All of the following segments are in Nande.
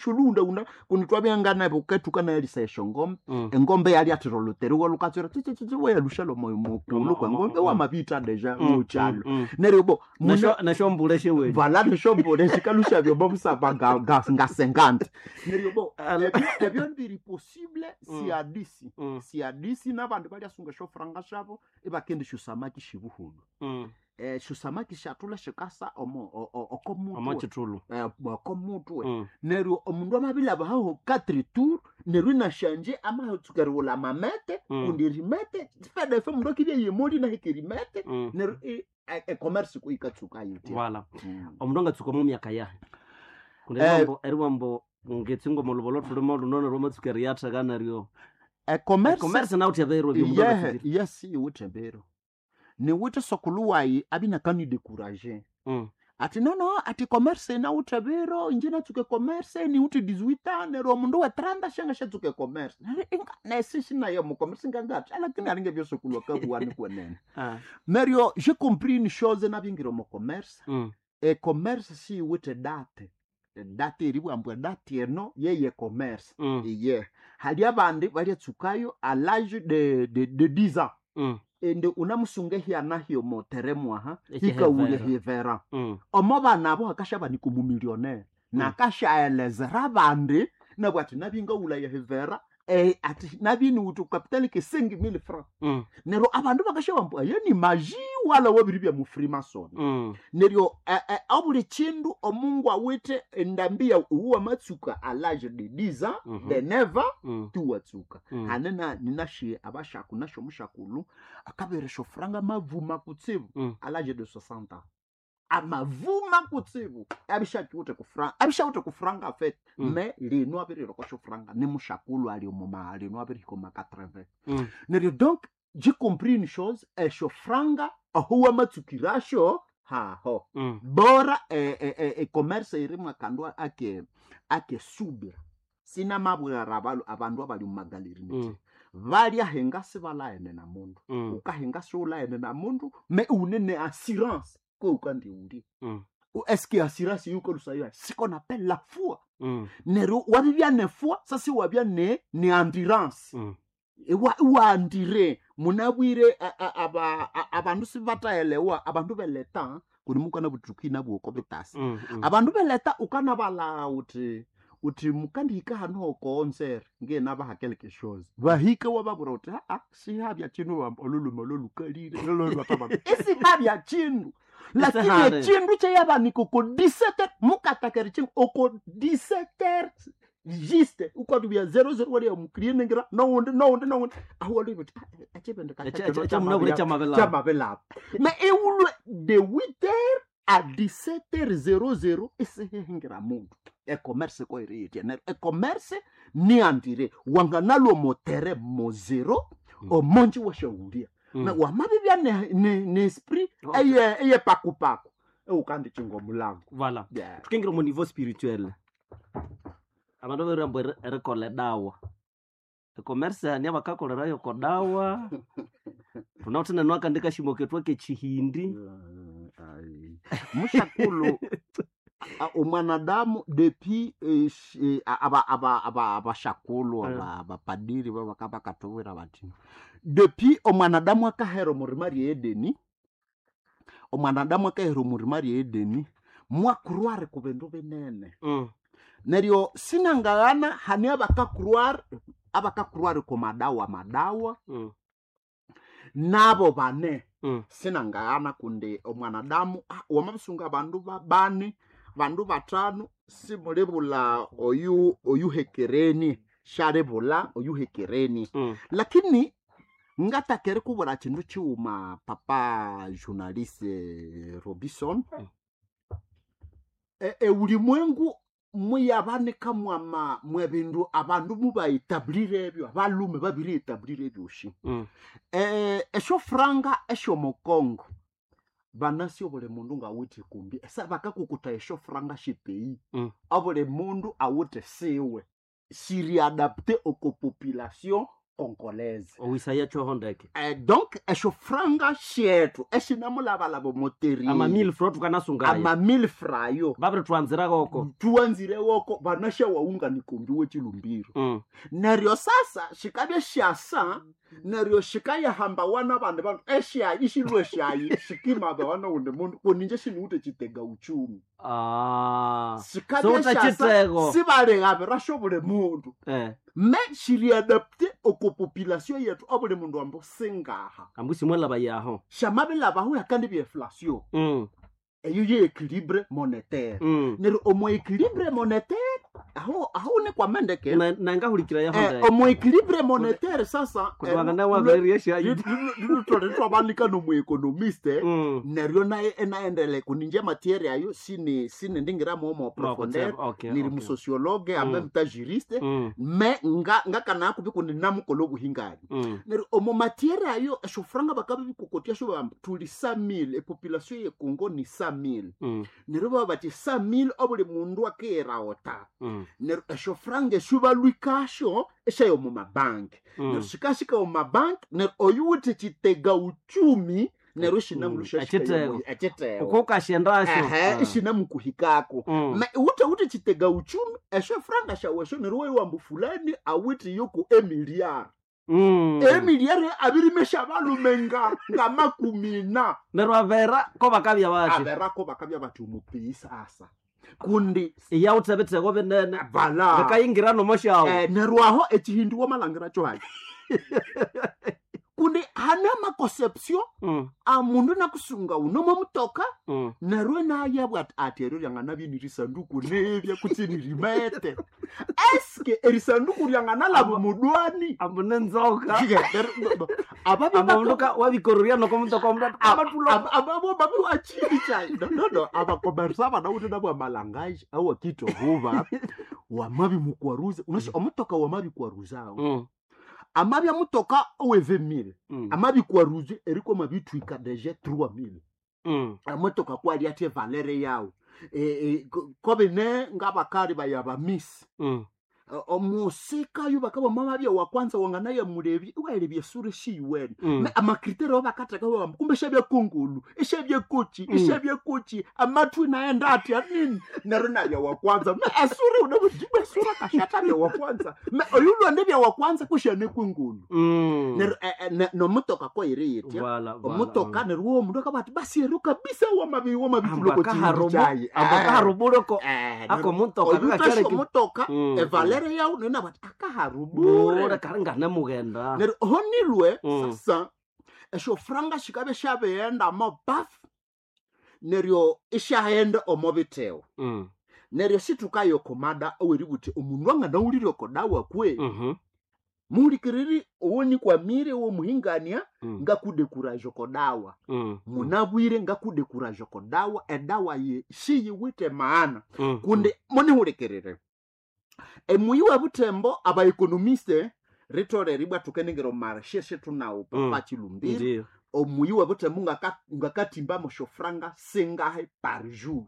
Shulunda kundi twabya buketuka nayalisa eshongombe. Engombe yalyathira oluteriwa lukatswera tsitsitsi wayalusha mukulu kwa ngombe wamabita deja mukyalo neryo bo Nashombule shewe. Vala neshombule shikalusha byomo busaba ngasengante neryo bo ebyo biri possible siadisi siadisi n'abandu balyasunga eshofuranga shabo ibakenda esyosamaki shibuhulu. Esyosamaki syathula shikasa omo okomutwe. Omo kithulu. Okomutwe neryo omundu amabilaba haho quatre tour neryo inashanje amatsuka erighulha amamete kundi erimete fedefe omundu akibya yemoli nahika erimete neryo ecommerce ikatsuka yitya. Wala omundu angatsuka omo myaka yahe kundi eriwambo ngetsinga omo lubolo thulimo luno neryo amatsuka eriyatheka neryo ecommerce nawuthi ebiro byomundu yehe angatsukire. Yes, iwithe ebiro niwithe sokulu wayi abinakani-décourager ati nono ati commerce nawuthe biro inje natsuka ecommerce niwuthe 18 ans neryo omundu we 30 shanga shatsuka ecommerce. Neryo nesi shinayo mu commerce ngangati lakini alinge byosokulu akabuwani kwenene. Neryo j'ai compris une chose nabingira omu commerce. Ecommerce siyiwithe date date eribwambwa date eno yeye commerce. Iye hali abandi balyatsukayo à l'âge de 10 ans ende unamusunga ehyana hyomo teremwaha hikawulya Ekihevera. hivera omo bana abo hakashabanika omumillionaire nakashaelezera abandi nabwo ati nabingawulaya hivera ati nabiniwuthi capital ke 5000 francs. Neryo abandu bakashabamba aye ni maji wala wabiri bya mufrimason. Neryo abuli kindu omungu awithe endambi ya uwa matsuka à l'âge de 10 ans de 9 ans tuwatsuka. Hane na ninashiye abashaku nasho mushakulu akaberesha franga mavuma kutsibu à l'âge de 60 ans amavuma kutsibu abishakiwuthe kufranga abishawuthe kufranga afete. Me lino abirirokosho franga ni mushakulu ali omuma lino abirihika oma 80. Neryo donc j'ai compris une chose esho franga aho wamatsukirasho haho bora ecommerce irimu akandu ake ake subira sinamabwira abandu abali mumagaleri nti balyahenga sibalaene na mundu. Ukahenga siulaene na mundu me une ne assurance ko ukandiuli. Est-ce assurance yukolusayo ce qu'on appelle la foi. Neryo wabibya ne foi sasi wabya ne endurance. Iwandire munabwire abandu sibatahelewa abandu beleta kuni mukana butuki nabwoko bitasi. Abandu beleta ukanabala uthi uthi mukandihika hano hokonsere ngenabaha quelque chose bahike wababwira uthi aa sihabya chinu oluluma lolukalire isihabya chindu lakini Isihali. echindu kyeyabanika oko 17 mukatakera chindu oko 17 juste ukwatubya 00 waliya mukrienengira nowundi nowundi nowundi aho waliya uthi Kyamunabwire kyamabelaba. kyamabelaba me iwulwe de 8h à 17h00 isihehingira mundu ecommerce koiriyitya neryo ecommerce niandire wanganalwa motere mo zero omonji washawulya na wamabibya ne esprit eye eye pakupaku eukandichinga omulango. Voilà. Yeah. Tukingira omu niveau spirituel abandu babirirambu erikolha edawa ecommerce hani abakakolerayo kodawa thunawithe nenu akandi kashimo kethu akechihindi. Ai. Mushakulu omwanadamu depuis abashakulu abapadiri bakatubwira bati depuis omwanadamu akahera omurima rye edeni omwanadamu akahera omurima rye edeni mwakurware ku bindu binene. Neryo sinangaghana hani abakakurware abakakurware ku madawa madawa nabo bane. Sinangaghana kundi omwanadamu wamabisunga abandu bane bandu batano simulibula oyu oyuhekereni shalibula oyuhekereni. Lakini ngatakere kubura kindu kiwuma papa journaliste Robinson. Eulimwengu muyabanika mwama mwebindu abandu mubaetablire ebyo abalume babirietablire ebyoshi. Eshofranga eshomokongo banasi obuli mundu ngawithe kumbi esa bakakukuta eshofranga shipei obuli mundu awithe siwe siriadapte oko population. congolaise. Owisaya kyoho ndeke. Donc esyo franga syetu esinamulabalaba omotereni Ama 1000 francs tukanasungaya. Ama 1000 frayo. Babiri twanziragoko. Tuwanzirewoko vanashawaunganikombi wechilumbiro. Neryo sasa shikabya shasa, neryo shikayahamba wana vandu vandu eshayi ishilwe shayi shikimaba wana undi mundu kuninje shiniwute chitega uchumi. Ah. Shikabya Sowuta shasa chitego. sibalekabirasho buli mundu. Me shiriadapte oko population yetu obuli mundu ambo singaha. Ambusi mwalaba yaho. Shamabilabaho yakandi byeflation. Eyo ye équilibre monétaire. Neryo omo équilibre monétaire aho aho nikwamendeke. Nangahulikira yaho ndeke. Omo équilibre monétaire sasa. Kutwangana waberia shayi. Lutwalitwabanika nomuekonomiste. Neryo naye enaendele kuninje matiere ayo sini sini ndingiramo omo profondeur. Okay. Niri musociologue en même temps juriste. Me nga ngakana kubi kundi namukola obuhingani. Neryo omo matiere ayo eshofranga bakabi bikokotia sho bamba tuli 100,000 epopulation ye Congo ni 100,000. Neryo baba bati 100,000 obuli mundu akeera ota. Neryo eshofranga eshubalwikasho eshayo mu mabanki. Neryo shikashika omu mabanki neryo oyuwithe chitega uchumi neryo shinamulusha. Echitego. Echitego. Uko kashendasho. Ehe, ishinamukuhikako. Me wuthe wuthe chitega uchumi esho franga shawesho neryo wewambu fulani awithe yoko emiliari. Emiliari abirimesha balume nga 40. Neryo avera ko bakabya bati. Averako bakabya bati omupii sasa kundi. Iyawuthe bitego binene. Vala. Bikayingira nomoshawo. Neryo aho echihindu wamalhangira kyohali kundi hane amaconception amundu nakusunga unomo mutoka. Neryo nayabwa ati ati eryo ryanganabya nirisanduku nebya kutsi nirimete eske erisanduku ryanganalaba mudwani. Ambu nenzoka. Ababya Amaundu wabikoruria noko mutoka omundu abatula. Ababo babi wachini chai no abakomersa banawuthe nabwa malangaji awakitohuba wamabi mukwaruza unasi omutoka wamabi kwaruzawo. Amabya mutoka oweve 1000. Amabi kwaruze eriko mabitwika deje 3000. Amotoka kwali ate valere yawo kobine ngabakali bayabamisi. Omusika yo bakaba mama wa kwanza wanganaye mulebi waelebye esura shiyiwene. Me amakriteri obakatheka bamba kumbe shabya kungulu ishabya kochi. Ishabya kochi amatwi naenda ati anini neryo nabya wa kwanza me esura unabudibwa esura kashata bya wa kwanza me oyulwande bya wa kwanza kushane kwingulu. Neryo nomutoka koyiri yitya. Voilà, voilà. Omutoka neryo wo omundu akaba ati basi ero kabisa wamabi wamabituloko. Ambakaharubuloko ako mutoka. Oyutasha omutoka evalere yawu nena bati akaharubure. Bure kari nganemugenda. Neryo honilwe. Sasa esyo franga shikabe shabighenda mo bafu neryo isyaghenda omo bitewa. Neryo situkayo komada oweributhi omundu anganawulire okodawa kwe. Muhulikiriri owonikwamire owomuhingania. Ngakudekuraja okodawa. Munabwire ngakudekuraja okodawa edawa ye siyiwithe maana. Kundi munihulikirire emuyi webuthembo abaekonomiste ritolere ibwa thukenengera omarshe shetunawo papa chilumbiro. Ndiyo. Omuyi webuthembo ngakatimba moshofranga singahe par jour.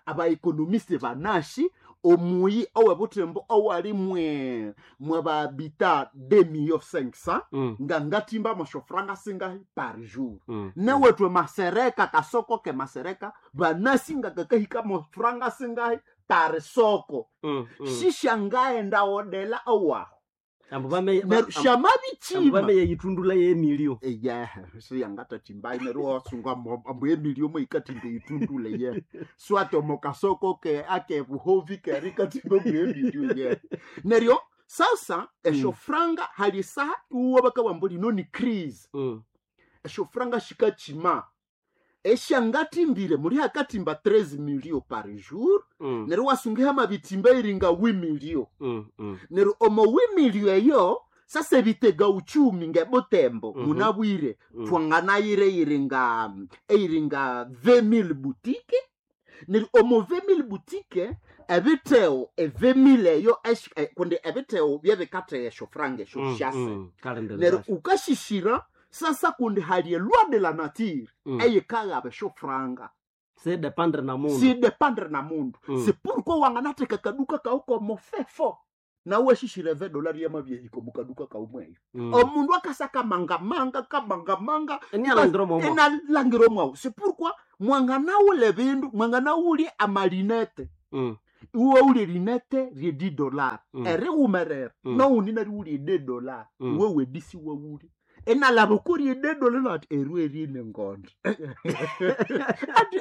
Abaekonomiste banashi omuyi owebuthembo owali mwe mwababita 2 500 000. Ngangatimba moshofranga singahe par jour. Newetwe masereka kasoko ke masereka banasi ngakakahika mofranga singahe par soko. Shishangaenda odela owaho. Ambu bame Neryo ambu shamabichima. bame yeyitundula yemilio. Eyehe siyangatathimbayi neryo wasunga ambu emilio moyikathimba eyitundule ye swati omokasoko ke akebuhovi keri ikathimba ambu emilio ye neryo sasa esyo franga hali saha iwuwa bakabugha lino ni crise. Esyo franga shikachima esyangathimbire muli hakathimba 13 milio par jour. Neryo wasunga hamabitimba iringa 8 milio. Neryo omo 8 milio eyo sasa ebitega uchumi ngebutembo. Munabwire. Twanganayire iringa eiringa 20,000 boutique neryo omo 20,000 boutique ebitheo e 20,000 eyo kundi ebitheo byebikatheya esyo franga esyo syase. Neryo ukashishira sasa kundi hali eloi de la nature eyikaghaba esyo franga. Se dependre na mundu. Si dépendre na mundu. C'est pourquoi wanganatheka kaduka kawu komofefo. Nawe shishire $20 yamabyehiko mukaduka kaumweyo. Omundu akasa kamangamanga kamangamanga Enialangira omwomo. Enalangira omwawu. C'est pourquoi mwanganawule bindu, mwanganawulye amalinete. Iwe wulye linete rye $10. Eriwumerera. Naundi nariwulye $10. Iwe wedisi wawulye. Enalaba okurya $10 nati erwe erine ngondo.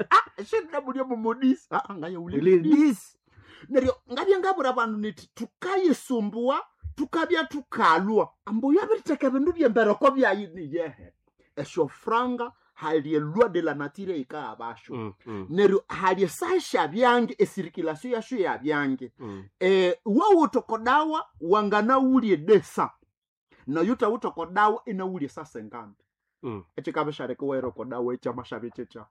Ati shinamulya mumodisi. Ngayawulye Ladies. Neryo ngabya ngabura abandu niti tukayisumbua tukabya tukalwa ambu yabiritheka ebindu byembereko byayi niyehe esyo franga hali eloi de la nature yikaabasho. Neryo hali esasha byange esirikilasiyo yasho yabyange. Wawutokodawa wanganawulye desa nayo tawutokodawa inawulye sasenganda. Ekikabishareka wairokodawa ekyamashabi kyekya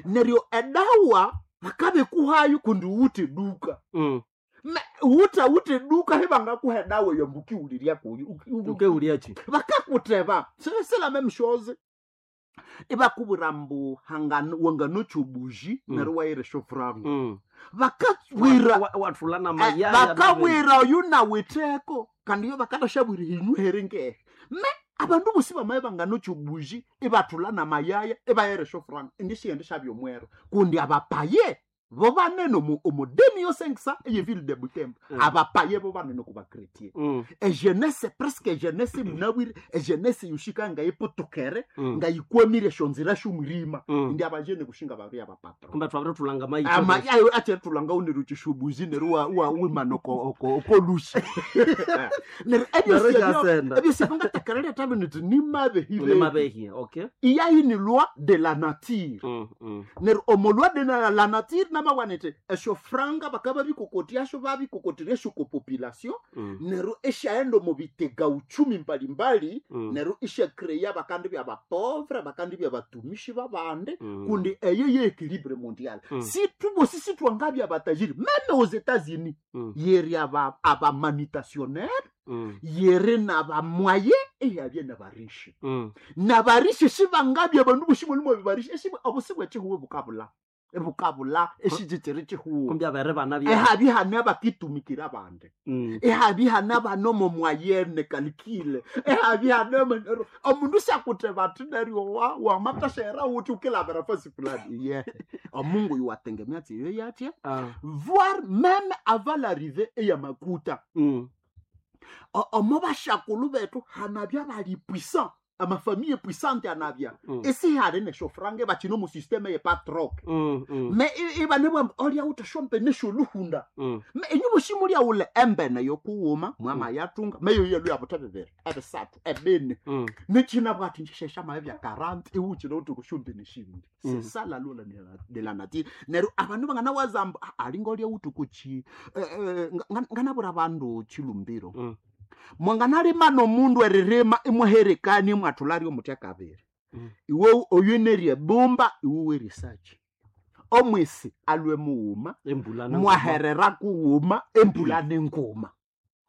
neryo edawa bakabikuhayo kundi wute duka. Wuta wute duka hibangakuha edawa yambukiwulirya kuyo. Ukewulyachi. Bakakuteba c'est la même chose ibakubwira mbu wanganocha obuji. Neryo waira eshofuranga. Bakabwira Wathula na mayaya. Bakabwira oyu nawitheko kandi yo bakatashabwira hinyuhere ngehe me abandu bosi bamaye banganocha obuji ibathula na mayaya ibayira eshofuranga indi shiyende shabyomwero kundi abapaye bo banene omudemi yosengisa eyeville de Butembo. Abapaye bo banene ku bakretien. Ejenese presque ejenese munabwire ejenese yoshika ngayipotokere. Ngayikwamire eshonzira shomurima. Indi abajene kushinga babiri abapatro. Kumbe twabire thulanga mayi. Ama ayo ache tulanga unero chishubuzi nero wa wa wimano ko ko ko lushi nero ebyo Nero sibyo kyasenda. Ebyo sibyo ngatakarira tabe niti nimabe hibe. Nimabehi, okay. Iya ini loi de la nature. Nero omo loi de la nature namawanete esho franga bakaba bikokotyasho babikokotire esho ko population. Nero eshaenda omu bitega uchumi mbalimbali. Nero ishakreya bakandi bya bapovre bakandi bya batumishi babande. Kundi eyo ye équilibre mondial. Si tubosi sitwangabya batajiri même aux États-Unis. Yeri aba abamanitationnaire. Yeri nabamoye eyabye nabarishi. Nabarishi shibangabya abandu boshi mulimo bibarishi eshibu obusi bwechihuwe bukabula ebukabula eshijijiri chihuwe. Kumbe abere bana bya. Ehabi hane abakitumikira abandi. Ehabi hane abanomo mwayene kalikile ehabi hane manero omundu syakuteba ati neryo wa wamatashaera uti ukilabira fasi fulani ye omungu yuwatengemea tsiyo yatya. Voire même avant l'arrivée eyamakuta. Omo bashakulu bethu hanabya bali puissant amafamille puissante anabya. Esihali neshofrange bachino mu systeme yepatrok. Me ibanebwa olya utashompe nesholuhunda. Me inyu bushimulya ule embene yokuwuma mwama yatunga meyo yelu yabutha bibiri ebisathu ebine. Nechina bwati nsheshesha maye bya 40 iwuchino uti kushumbe neshindi. C'est ça la loi de la nature neryo abandu banganawazamba alinga olya uti kuchi nganabura bandu chilumbiro. Mwanganalima nomundu eririma imwaherekani imwathulario omutya kabiri. Iwe oyu bumba iwe werisachi omwisi alwe muwuma. Embula na mwaherera kuwuma embula nenguma.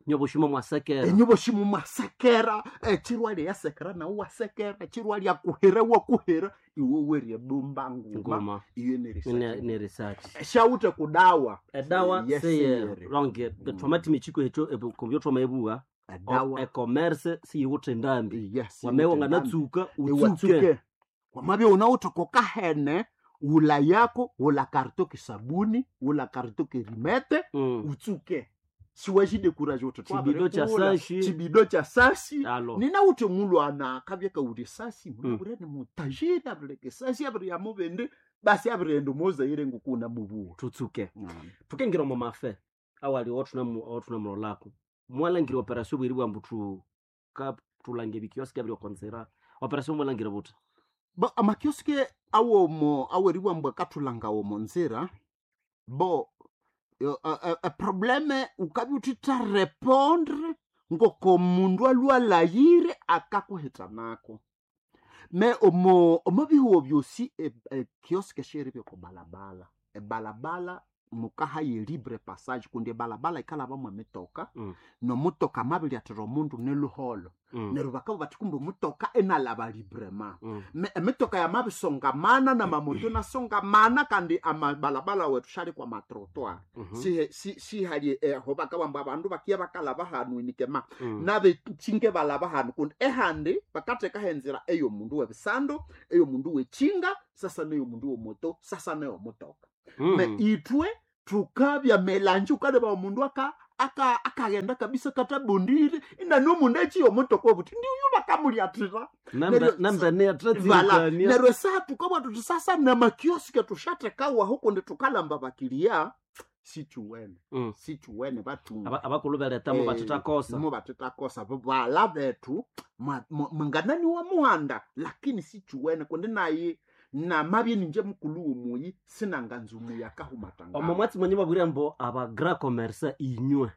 Nyoboshimo mwasekera. Enyuboshimo mwasekera echirwa lyasekera nawe wasekera chirwa lyakuhera wakuhera iwe werye bumba nguma. Ngoma. Iyo nerisachi. Ne research. Shawute kudawa. Edawa Yes, seye sir. ronge twamati michiko echo kumbyo twamaebuwa. Edawa. E-commerce siyiwuthe ndambi. Yes. Wamewa nganatsuka utsuke. Iwatsuke wamabya unawuthokoka hene wula yako wula karito kisabuni wula karito kirimete. Utsuke siwajidekuraje uthi Chibido cha twabirikula. sashi. Chibido cha sasi. Alo. Ninawuthi mulwana akabya kawuli sasi munabure ni mutajiri abireke sasi abiri yamubindi basi abirighenda omuzaire ngukuna mubuwa. Tutsuke tukengira omu mafe awali othunamulolako mwalangira operation bweri bwambu tu ka tulange ebikioski abiri okonzera operation mwalangira buthi. Bo amakioski awomo aweriwambwa kathulanga omo nzira bo probleme ukabya uthitha répondre ngoko mundu alwalayire akakuhitanako me omo omo bihuwo byosi ekioski syeribya oko balabala ebalabala. Mukahaye libre passage kundi ebalabala ikalabamwe emitoka. Nomutoka amabiryathira omundu neluholo. Neryo bakabugha bathi kumbe omutoka inalaba librement. Emitoka yamabisongamana namamoto inasongamana, kandi amabalabala wethu syali kwa matrottoir. Sihali aho bakabugha abandu bakiya bakalaba hanu inikema. Nabekyinga balaba hanu kundi ehandi bakathekaho enzira eyomundu webisando, eyomundu wekyinga, sasa neyomundu womoto, sasa neyomutoka. Me ithwe thukabya melange, wukaleba omundu akaghenda kabisa katabondire, inanomundu ekyiya omutoka obuthi ndiuyu bakamulyathira. Neryo- Nembene Vala. yatratsirikania. Neryo esaha tukabugha thuthi sasa namakioske thusyathekawaho kundi thukalamba abakiriya sikyuwene. Sikyuwene bathunga. Abakulu beretamo bathithakosa. Mo bathithakosa bala bethu mwanganani wa muhanda, lakini sikyuwene kundi nayi namabye ninje mukulu womuyi sinanganza omuyi akahumatangana. Omo mwatsi mwenye babwire ambu aba grand commerce inywe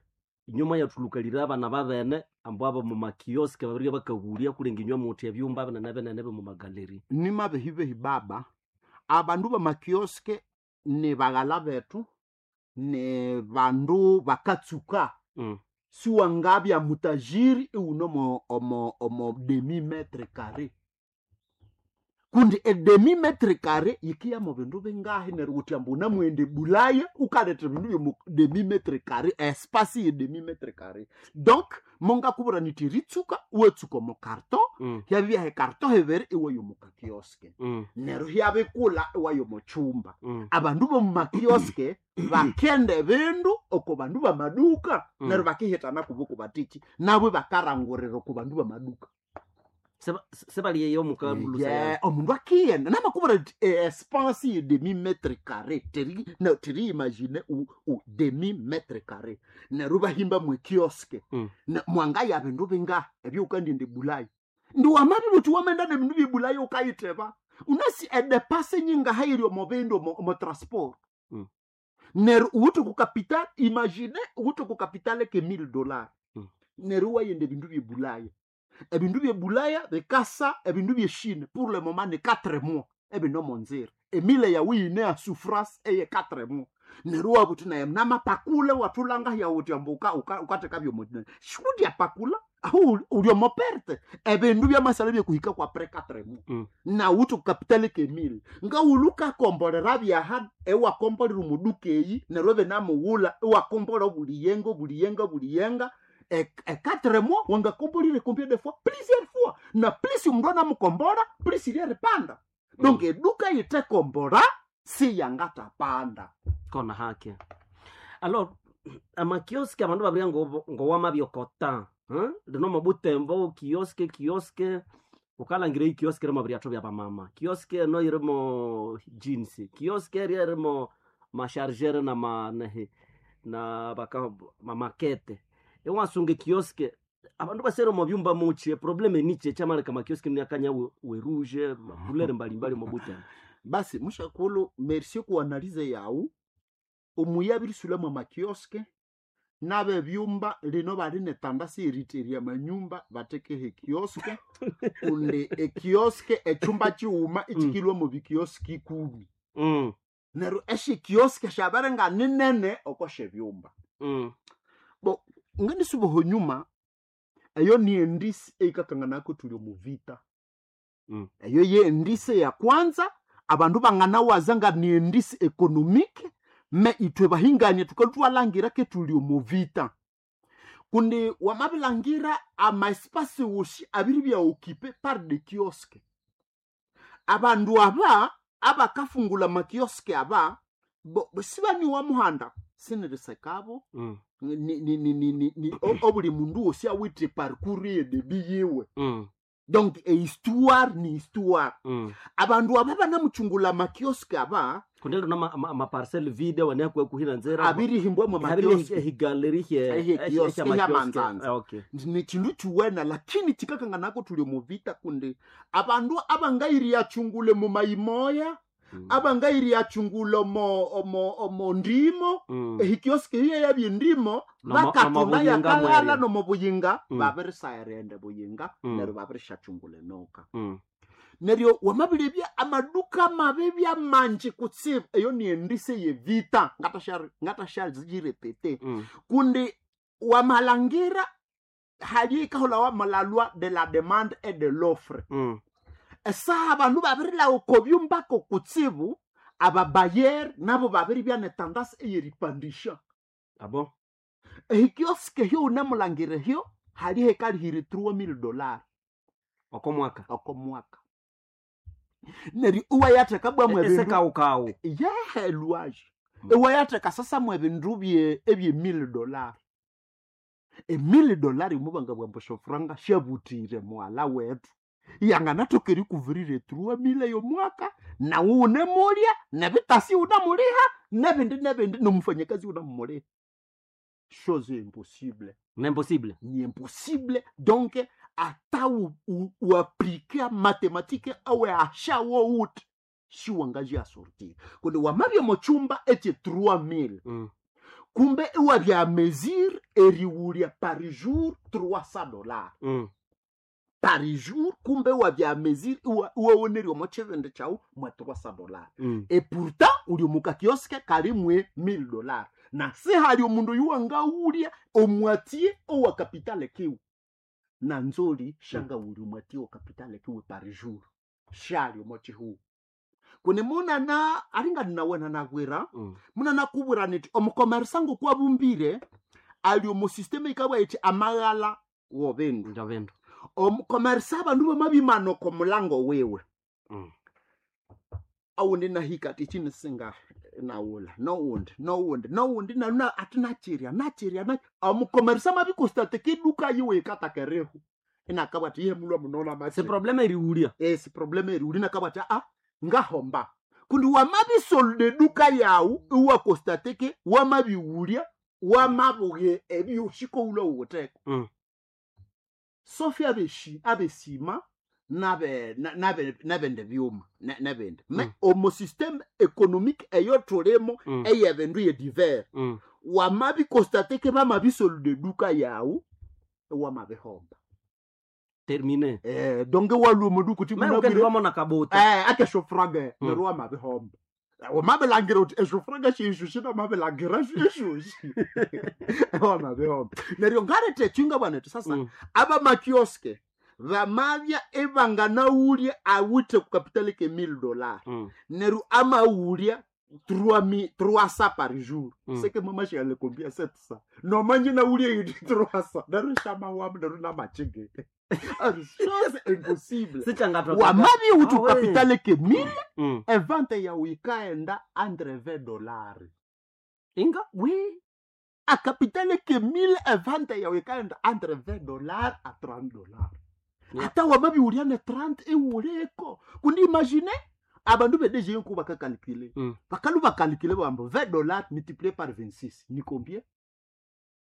inywe mwayathulukalire abana babene ambu abo mumakioske babirye bakaghulya kulenga inywe muthi ebyumba binene binene bimumagaleri. Nimabehibehi baba, abandu bamakioske ni baghala bethu, ni bandu bakatsuka. Siwangabya mutajiri iwune omo demi metre carré, kundi edemi metre carré yikiya mu bindu bingahi? Neryo wuthi ambu unamwenda ebulaya ukaletha ebindu byomu demi metre carré, espace ye demi metre carré. Donc mongakubwira nithi eritsuka iwatsuka omo carton. Hyabya hecarton hibiri iwaya omu kakioske. Neryo hyabikula iwaya omo kyumba. Abandu bomumakioske bakenda ebindu oko bandu bamaduka. Neryo bakihitana kubo batiki nabo bakarangurira oko bandu bamaduka. Sebaliyeyo mukalulusa. Yeah, omundu akiyenda namakubwira nti espace ye demi metre carré teri no, teri imagine u demi metre carré neryo bahimba mwe kioske. Mwangaya bindu binga ebyukandiende bulayi ndi wamabi buthi wamenda nebindu byebulayi ukayitheba unasi edepase nyingahairi omo bindu omo transport. Neryo uwithe ku capital, imagine uwithe ku capital ke $1000. Neryo wayenda ebindu byebulaya, ebindu byebulaya bikasa ebindu byeshine pour le moment ni 4 mois ebine omo nzira emile yawu yine ya souffrance eye 4 mois. Neryo wabuthi naye namapakule wathulanga yawuthi ambu ukatheka byomo shikundi apakula aho uli omo perte ebindu byamasale byekuhika kwa après 4 mois. Nawuthi kukapitali kemile ngawulhu ukakombolera byaha ewakombolera omuduka eyi neryo ebinamughulha ewakombola obuliyenga obuliyenga obuliyenga e 4 mois wangakombolire combien de fois? Plusieurs fois, na plus omundu anamukombola plus iryeripanda. Donc eduka yitekombora siyangatapanda. Kona hake alors amakioske abandu babirya ngowamabyokota. Lino mobutembo kioske kioske ukalangira ikioske irimo biryatho byabamama, kioske eno irimo jeans, kioske eria irimo mashargere na manehi na baka mamakete iwasunga ekioske abandu basere omo byumba muchi eprobleme nichi ekyamaleka makioske niakanya weruje makulere mbalimbali omobutembo. Basi mushakulu, merci kuanalize yawu omuyi abirisulha makioske n'abebyumba lino bali netandasi eriteria manyumba batekeho ekioske kundi ekioske ekyumba kighuma ikikilwa mu bikioski 10. Neryo esyikioske syabere nga ninene oko syebyumba. Bo ngendisuba honyuma eyo ni endisi eyikakanganako thuli omu vita. Eyo ye endisi ya kwanza abandu banganawaza nga ni endisi économique, me ithwe bahingania thukalwa ke thuli omu vita kundi wamabilangira amaespasi wosi abiribya occupé par des kiosques. Abandu aba abakafungula makioske aba bo sibaniwa muhanda sinirisekabo. Ni obuli mundu wosi awithe parcours ye debi yiwe. Donc ehistoire ni histoire. Abandu aba banamuchungula makioske aba kundi lino amaparcel vide wanekwe kuhina nzira abirihimbwa mu makioske. Ehigaleri. Ehe kioske hyamanzanza. Ni chindu chiwena lakini chikakanganako tuli muvita kundi abandu abangairiyachungule mumayimoya, abangairiyachungule omo ndimo ehikioske hiye yabyendimo. Bakatunda Nomo buyinga yakalala mwerya. nomo buyinga. Babirisayirende buyinga. Neryo babirishachungula enoka. Neryo wamabirebya amaduka mabibya manji kutsibu, eyo ni endise yevita ngatasharipete. Kundi wamalangira hali ikaholawa la loi de la demande et de l'offre. Esaha abandu babirilawa oko byumbako kutsibu, ababayer nabo babiribya netandasi eyeripandisha. Abo. Ehikioske hyo unamulangira hyo hali hekalihire $3000 Oko mwaka. Oko mwaka. Neryo iwayatheka bwamu ebindu Esekawukawu. Yehe, lwaje iwayatheka sasa mu ebindu bye ebye $1000. $1000 imubanga bwambu shofuranga shabutire mwala wethu yanganathoka erikuvirira $3000 yomwaka, nawe unemulya nebitasi unamuliha nebindi nebindi nomufanyakazi unamumuliha. Chose impossible. Ni impossible. Ni impossible. Donc ata uaplike matematike awe ashawo uti siwangaji asortir kundi wamabya mochumba eche 3000. Kumbe iwabya mesure eriwulya par jour $300. Par jour, kumbe wabya mesure iwawonerya omo chibindi kyawu mwa $300. Et pourtant uli omuka kioske kali mwe $1000, na sihali omundu yuwangawulya omwatie owa kapitale kiwe na nzoli shangawulya omwatie owa kapitale kiwe par jour shali omo chihuwu kuni munana alinga ninawena nagwira. Munana kubwira niti omukomersa ngokwabumbire ali omu system ikabwa iti amaghala wobindu. Njavindu. Omukomersa abandu bamabimana oko mulango wiwe. Awundi nahika ati chinisinga nawula nowundi nowundi nowundi naluna ati nachirya nachirya na omukomersa mabikostate kiduka yiwe ikatakereho inakabwa ati iye mulwa munona Se machirya. problema eriwulya. Esi problema eri uli nakabwa ati a ngahomba kundi wamabisolde duka yawu iwakostateke wamabiwulya wamabuye ebyoshikoulwa wuwuteko. Sofi abeshi abesima nabe nabe nabende byuma nabende me omo système économique eyo tulimo eyebindu ye divers. Wamabikostateke bamabisolde duka yawu wamabihomba. Termine. Donc walwa omuduku ti Me ukendiwamo na kabota. Akeshofraga neryo wamabihomba wamabilangira uthi eshofraga sheshu shinamabilangira eshoshi wamabihomba. Neryo ngaletha ekyinga bwana ethi sasa abamakioske bamabya ebanganawulya awithe kukapitali ke $1000. Neryo amawulya 300 par jour. Seke mama shiyale combien 700 nomanje nawulya yiti 300 neryo shamawamu neryo namachige chose impossible. Sichangatwa. Wamabi uthi Ah, we. ukapitali ke 1000 evente yawu ikaenda entre $20. Inga? Oui, a capitale ke 1000 evente yawu ikaenda entre $20 a $30. Ata wamabi ulyane 30 iwuleko kundi imagine abandu bedeje nku bakakalkule. Bakalu bakalkule bambo $20 multiplié par 26 ni combien?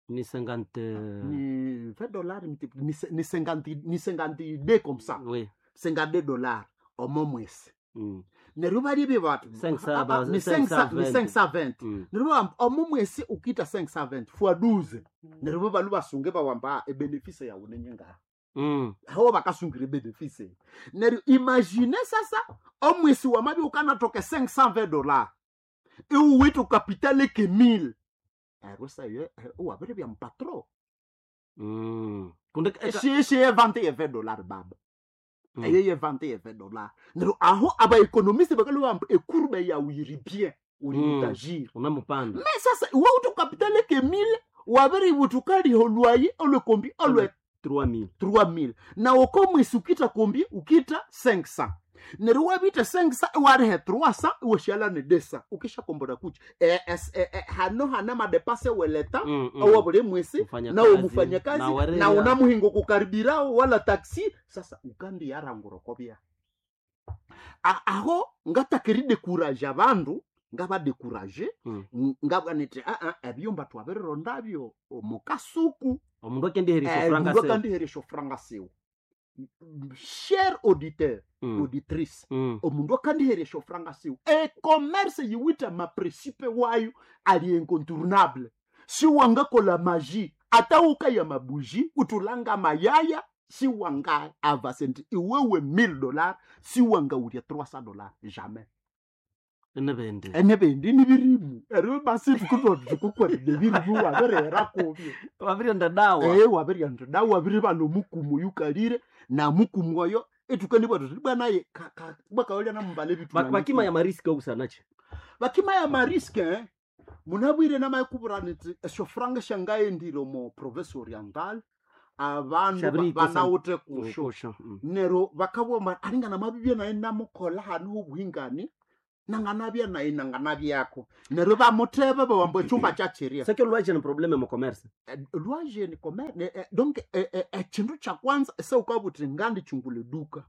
Ni 50. Ni $20 multiplié ni 50, ni 52 comme ça. Oui. $52 omo mwesi. Neryo balibye batu 500 ni 500 ni 520. Neryo bamba omo mwesi ukita 520 fois 12 neryo balu basunge bawamba ebenefice yawu nenyenga. Aho bakasungira ebenefice. Neryo imagine sasa omwesi wamabi ukanatoka $520 iwuwithe ukapitale ke 1000 eryo sayo wabiri bya mpatro. Kundi Shishi evante ye $20 baba. Eyo ye vante ye $20 neryo aho abaekonomiste bakalubamba ekurbe yawu yiri bien uri mutagir. Unamupanda. Me sasa iwe uthi ukapitale ke 1000 wabiri wuthi ukaliho lwayi olwe kombi olwe 3000. 3000 na oko mwisi ukita kombi ukita 500 neryo wabita 500 warihe 300 iwashala ne 200 ukishakombora kuchi hano hana madepase weleta owa buli mwisi Mfanyakazi, nawe mufanyakazi na wareya. na unamuhingo kukaribirao wala taxi sasa ukandi yarangura kobya. Aho ngatakiri dekuraje abandu ngabadekuraje. Ngabwa niti aa ebyumba twabirirondabyo omukasuku. Omundu akendiherisa franga Omundu se. akandiheresha franga siwe, cher auditeur, auditrice. Omundu akandiheresha franga siwe, ecommerce yiwithe maprincipe wayo ali incontournable. Siwangakola magie ata ukaya mabuji utulanga mayaya. Siwanga avase nti iwewe $1000 siwangaulya $300 jamais. Enebende. Enebindi nibirimu eryo basi tukukwatire birimu wabirera kubyo. Wabirienda dawa. Wabirienda dawa, wabiribana omukumu yukalire na mukumu oyo etukanibwa tuti bwanaye bwakaolya namubala ebitu. Bakima ya mariski okusanachi. Bakima ya mariske munabwire namayikubura niti esyo franga syangaendire omu province oriental abandu Shabirikesa. banawuthe kusho. Kusho. Neryo bakabugha alinga namabibya naye namukolha hanu hobuhingani, nanganabya naye nanganabyako, neryo bamutheba bawamba ekyumba kyakyirya. Sekyo lwaje ni probleme mu commerce. Lwaje ni donc ekindu kyakwanza esewukabuthi ngandikyungula eduka,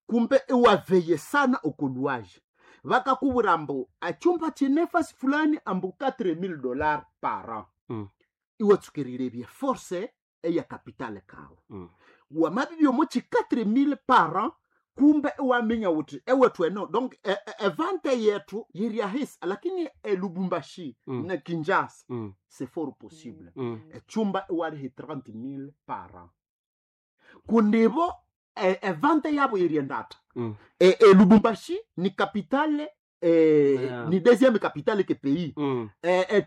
kumbe iwaveye sana okolwaje, bakakubwira ambu ekyumba kyine fasi fulani ambu $4000 par an. Iwatsukirire ebye force eya kapitale kawe. Wamabibya omo ki 4000 par an, kumbe iwaminya wuthi ewethu eno donc evante yethu yiri ahisi, lakini elubumbashi na Kinshasa c'est fort possible echumba iwalihi 30 000 par an, kundibo evante yabo yiri endata. Elubumbashi ni capitale Yeah. ni deuxième capitale ke pays.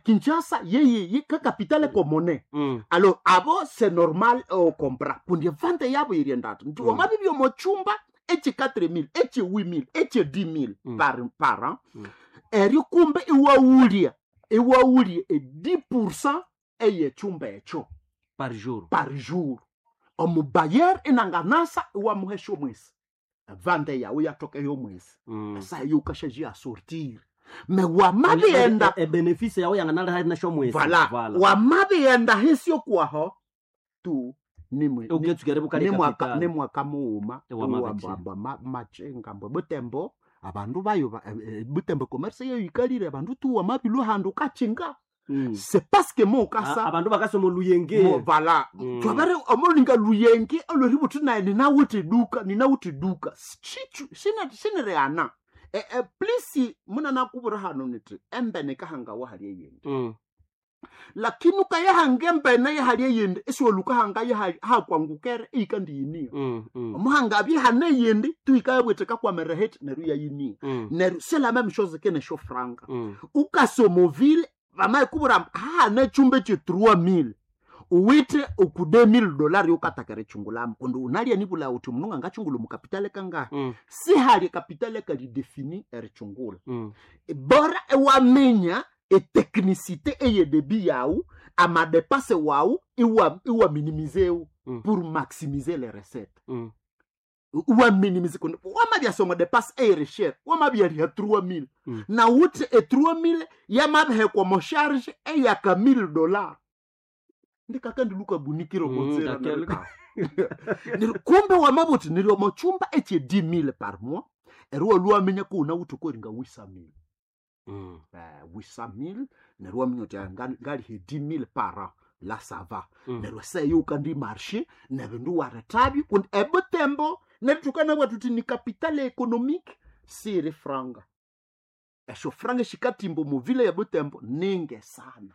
Kinshasa yeye ka capitale komone. Alors abo c'est normal comprend kundi vante yabo yiri endata nti wamabibya omo chumba echi 4000, echi 8000, echi 10 000 par an. Eryo kumbe iwawulya e 10% eyechumba ekyo Par jour. Par jour. Omubayer inanganasa iwamuhesha omwesi vande yawe yatoka eyomwesi. Esa yukashaji asortir me wamabienda. E benefice yawe yanganala hari nasho mwezi. Vala wamabienda hisyo kwaho tu nimwe Uketsukere bukali capital. Nimwaka mughuma. Ewamabichi. Iwamba machinga mbwe butembo abandu bayo butembo commerce yeyo yikalire abandu tu wamabilwa handu ukachinga. C'est parce que mo ukasa Abandu bakasoma oluyenge. Mo vala. Twabere omulinga luyenge olweributhi naye ninawuthi duka, ninawuthi duka Chichu, sinireana plisi munanakubura hano niti embene kahanga wahali eyindi. Lakini ukayahanga embene yahali eyindi isiwolukahanga hakwangukere eyikandiyiniya. Omuhanga abyehana eyindi tuikayabwethe kakwamereheti neryo yayiniya. Neryo c'est la même chose ke nesho franga. Ukasomovile vamayikubura hahana echumba eche 3000 uwithe uku $2000 yokatakera echungulamu kundi unalya nibula uthi mundu ngangachungula mukapitale kangahi. Sihali kapitale kalidefini erichungula. Bora ewaminya etechnicité eyedebi yawu amadepase wawu iwa minimizewu pour maximiser les recettes. Iwa minimize kundi wamabyasoma depase eyereshere wamabyariha 3000 na wuthi e 3000 yamabihekwa mo charge eyaka $1000 ndikakandiluka bunikiro konzera. Kumbe wamabuthi niri omo chumba eche 10000 par mois eri waluwaminya kuuna wuthi koringa 800000. 800000 neryo waminya uthi ngalihe 10000 par an la ça va. Neryo seyo ukandi marché nebindu warethabyo kundi ebutembo neryo tukanabwa tuthi ni capitale économique siri franga esyo franga shikatimba omu vile ya butembo ninge sana.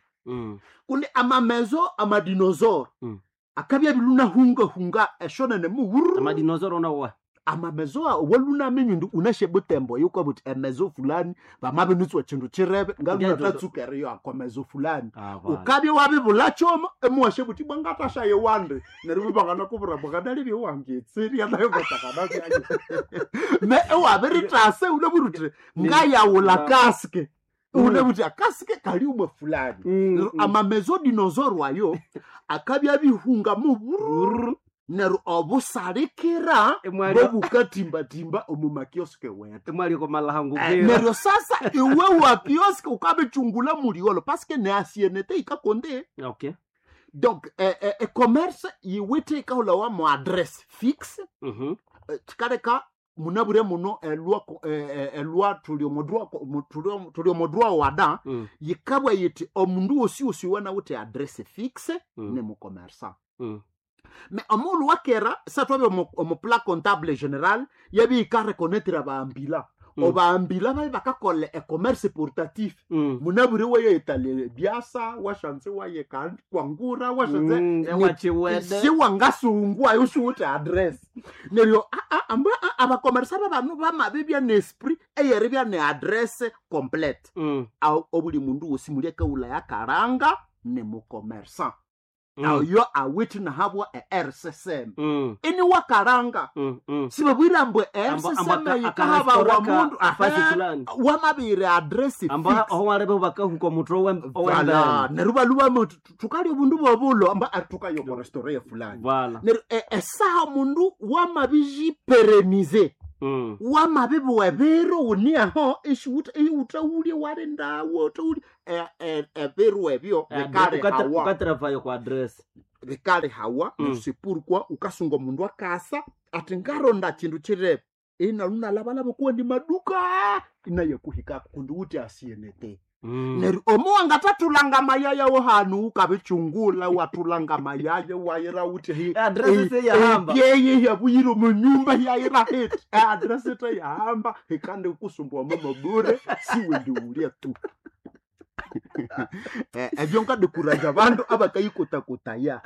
Kundi amamezo amadinosaure akabya bilunahungahunga eshonene muwuru. Amadinosaure onawa. Amamezo walunaminya ndi unashe butembo yukabuthi emezo fulani vamabinitswa chindu chirebe ngalunatatsukeriyo akomezo fulani. Ukabya wabibula choma emuwashe buthi bwangatashaye wande neryo bibangana bwanganalibye wangetseria nayo batakana me ewabiritase unaburuthi ngayawula kaske unabuthi akaske kali umwe fulani. Neryo amamezo dinosaure ayo akabya bihunga muburu neryo obusalikira bobukatimbatimba omu makioske wetu. Emwali komalahangu. Neryo sasa iwe wa kioske ukabichungula muliolo paske ne asienete ikakonde. Okay. Donc e-commerce yiwithe ikahulawa mo adresse fixe. Chikaleka munabure muno elwa elwa tuli omodrwa tuli omodrwa wada. Yikabwa yiti omundu wosi wosi wanawithe adresse fixe ne mucommerçant. Me omulu wakera satwabe omu plan comptable général yabi ikareconnaître abambila. Obambila babe bakakola ecommerce portatif. Munabure wayetale byasa washanze waye kwangura washanze. Ewachiwede. Siwangasungu ayo siwuthi address neryo amba abakomersa babanu bamabibya neesprit eyeribya ne address complete. Obuli mundu wosi muli akaula yakaranga ni mukomersa. Ayo awithe nahabwa e-rccm. Ini wakaranga. Sibabwira mbwe e-rccm yikahaba wa mundu fasi fulani. Wamabire address amba fix. Aho warebe bakahuka omutwe Vala, owembere. neryo baluba tukali obundu bobulo amba atukayo ko restaurant ya fulani. Vala. Neryo esaha mundu wamabijiperenize. Wamabibuwa ebiro uniaho ishiwutawulye walindawo utawulye ebiru ebyo bikali hawa. Ukatravayo kwa address. Bikali hawa. Sepurkwa ukasunga omundu akasa ati ngaronda chindu chirebe inalunalabalaba kuwa ndi maduka inayakuhikako kundi uti asienete. Neryo omo wangatatulanga mayaya wo hanu ukabichungula watulanga mayaya wayira uti Address seyahamba. Yeye yabuyire munyumba yayira heti address teyahamba ikande kusumbua mama bure siwende ulia tu. Ebyo nkadekuraja abandu abakayikotakotaya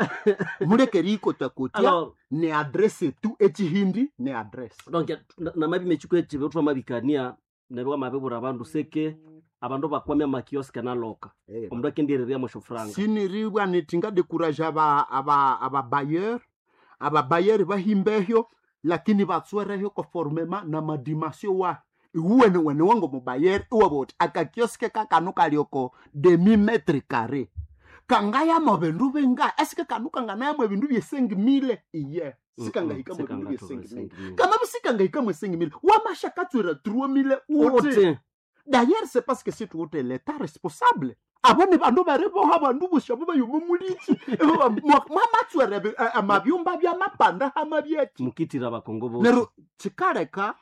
mulekeri ikotakotia. Alors Ne adresse tu ekihindi ne adresse. Donc namabi mechiko echibe twamabikania neryo wamabibura abandu seke abandu bakwamya makioske naloka omundu akendireria moshofranga. Siniribwa niti ngadekuraja ababayeur ababayeri bahimbehyo lakini batswerehyo conformement na madimasio wa iwuwene wene wango mubayeri iwaba uti akakioske kakanu kalioko demi metre carré kangayamo bindu binga esike kanu kanganayamo ebindu byesengi mille iye sikangahikamo ebindu byesengi mille kama sikangahikamo esengi mille wamashakatswera 3 mille uti. Uti. D'ailleurs, c'est parce que c'est tout l'État responsable. Abo ni bandu bariboha bandu bushabu bayuma muliki mwamatswere amabyumba byamapanda hamabyeki. Mukitira abakongo bo. Neryo kikaleka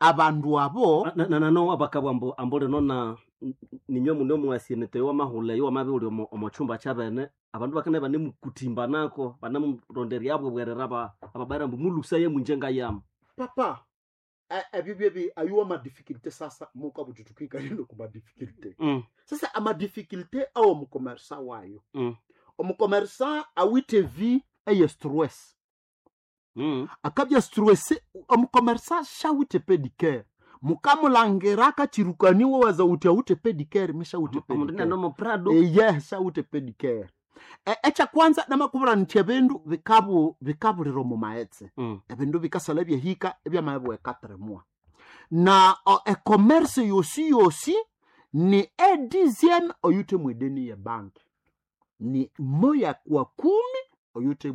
abandu abo. Nano abakabwa ambo ambole nona ninywe muno mwasienete wamahule wamabi uli omo chumba chabene abandu bakane banemukutimba nako banemuronderia abwe bwerera ababara mbu mulusa ye munjenga yam. Papa ebyo byebi ayuwa madifficulté sasa mukabututukika lino ku madifficulté. Sasa amadifficulté awo omukomersa wayo. Omukomersa awite vie eye stress. Akabya stressé omukomersa shawite pedicare mukamulangira akachirukaniwa waza uti awute pedicare mishawute Omundu pedicare. neno prado. Eye shawute pedicare ekya kwanza namakubura nti ebindu bikabu bikabulira omu maghetse. Ebindu bikasala byehika ebyamabwa ekatremwa na ecommerce yosi yosi ni edizieme oyute mwedeni ye banki ni moya kwa kumi oyute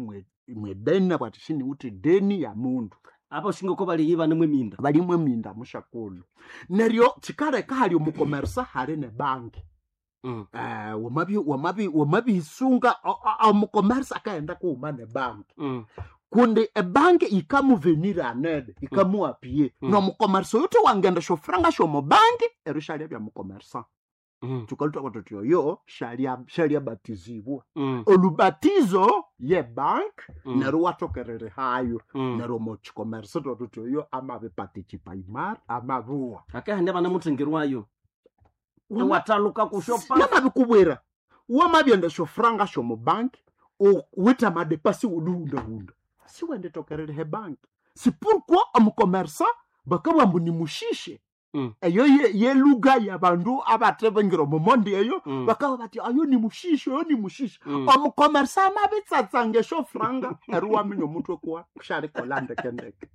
mwedeni nabwati shini uti deni ya mundu. Apa shingo ko bali yiba nemwe minda. Balimwe minda mushakulu neryo kikaleka hali omukomersa hali ne banki. Wamabisunga omukomersa akaenda kuuma ne banki. Kundi ebanki ikamuvenira anene ikamuapie. Nomukomersa oyo wangenda shofranga shomubanki eryo shalya bya mukomersa. Tukalutwa tuti oyo shalya batizibwa. Olubatizo ye bank. Neryo watokerere hayo. Neryo muchikomersa twatuti oyo amabiparticipaimar amabuwa. Akahande banemutengerwayo wataluka kushopa. Namabikubwira wamabyenda shofranga shomubanki wita madepasi wuluhundahunda siwendetokerere he banki si pourquoi omukomersa bakabwa mbu nimushishe. Eyo yeluga yabandu abatebengira omumondi eyo. Bakaba bati ayo ni mushishe oyo ni mushishe. Omukomersa amabitsatsanga eshofranga eri waminya omutwe kuwa kushalikola ndekendeke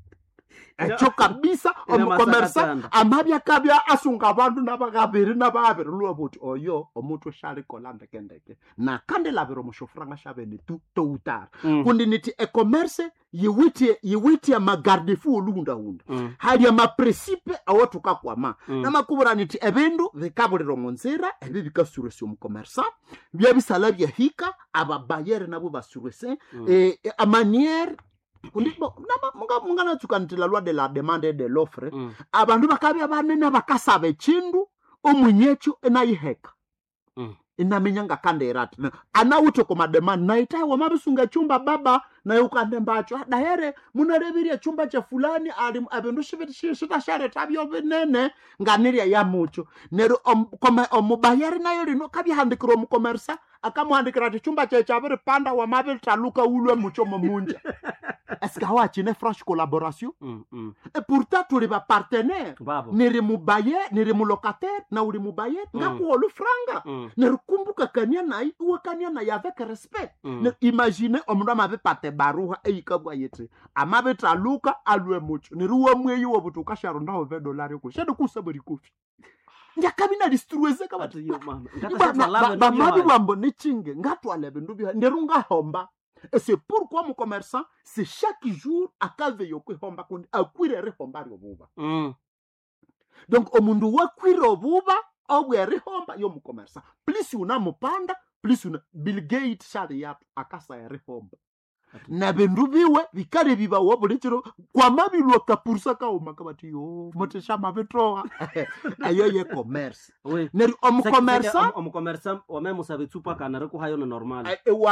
ekyo kabisa. Ina Omukomersa masakatanda. amabya kabya asunga abandu nabakabiri nababiri lwa buti oyo omutwe shalikola ndekendeke nakandi labira omushofranga shabene tu toutara. Kundi niti ecommerce yiwithe yiwithe amagardefu oluhundahunda. Hali amapresipe awo tukakwama. Namakubura niti ebindu bikabulira omunzira ebi bikasuresa omukomersa byabisala byahika ababayere nabo basurese. Amaniere kundi munganatsuka nti la loi de la demande et de l'offre. Abandu bakabya banene bakasaba echindu omunyekyo enayiheka. Inaminya ngakandera ati anawuthe komademande naitaye wamabisunga chumba baba. Naye ukandembacho dahere munareviria chumba cha fulani ali ebindu shitashareta byo binene nganirya ya mucho. Neryo omubayeri nayo lino kabyahandikira omukomersa, akamuhandikira ati chumba kye kyabiripanda, wamabitaluka ulwe mucho momunja. Eske hawachine franche collaboration? Et pourtant tuli bapartenaire. Babo. Niri mubaye, niri mulocataire na uli mubaye, ngakuwa olufranga. Nerikumbuka kania naye, iwakania naye avec respect. Imagine omundu amabipata ebaruha eyikabwa yiti amabitaluka alwe mucho, neri wamweyi wobuti ukasharundaho vedolari ku shedi kusaba rikofi njakabi nalistruwezeka bati. Ati yo mama. Bamabi bwambo nechinge ngatwala ebindu bya neru ngahomba. Et c'est pourquoi mon commerçant, c'est chaque jour akave yokwihomba kundi akwire erihomba ryobuba. Donc omundu wakwire obuba obwerihomba yomukomersa, plus unamupanda plus una Bill Gates shali yatu akasa erihomba nebindu biwe bikale bibawa buli kiro kwamabilwa kapursa kauma kabati yo muteshamabitoa eyo ye commerce. Oui. Neryo omukomersa Omukomersa wamemusaba etsupa kana rikuhayo ni normal. Ewa.